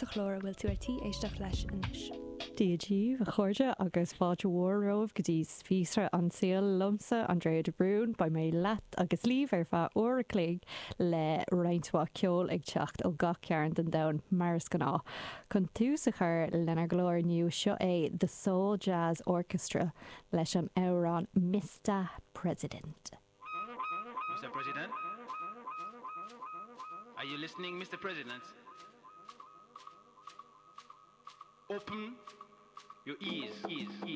sa chlár a bhfuil tú ar tí éisteacht leis anois. Dia daoibh, a chairde, agus fáilte mhór romhaibh go dtí Spíosra an tSaoil liomsa, Andrea de Brún. Beidh mé leat agus libh ar feadh uair a chloig le roinnt mhaith ceoil ag teacht ó gach cearn den domhan, mar is gnáth. Chun tús a chur lenár gclár inniu, seo é The Soul Jazz Orchestra leis an amhrán Mista President. Mr. President? Are you listening, Mr. President? Open your ears. ears, ears.